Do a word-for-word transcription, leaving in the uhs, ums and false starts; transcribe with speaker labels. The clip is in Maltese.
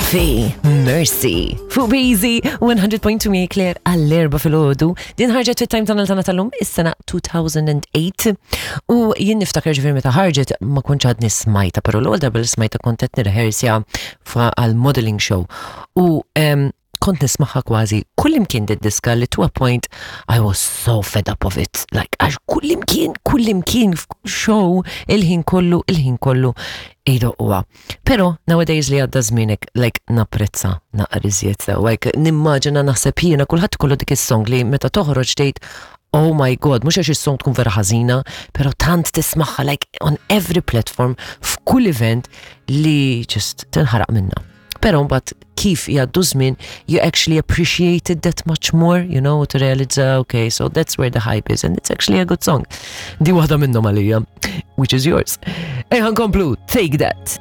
Speaker 1: Duffy, Mercy. Fuq Busy, one hundred point two mi Claire għall-erba filgħodu. Din ħarġet fit-time tunnel tagħna tal-lum is-sena two thousand and eight. U jien niftakar, ġifieri, meta ħarġet ma kontx għadni smajtha, pero l-ewwel darba li smajtha kont qed nirrehearsja għal modeling show. U em, kont nismagħha kważi kullimkien diska li to a point I was so fed up of it. Like, għax kullimkien, kullimkien, show, il-ħin kollu, il-ħin kollu idoqquha. Pero nowadays li għadda żminek, like, napprezza naqra iżjed sew. Like, nimmaġina, naħseb jiena, kulħadd kollu dik is-song li meta toħroġ tgħid, "Oh my God," mhux għax is-song tkun vera ħażina, pero tant tismagħha like on every platform, f'kull event, li just tinħaraq minna. Pero mbagħad kif jgħaddu żmien, you actually appreciate it that much more, you know, to realize, okay, so that's where the hype is and it's actually a good song. Di waħda minnhom għalija, which is yours. Ejja nkomplu, Take That.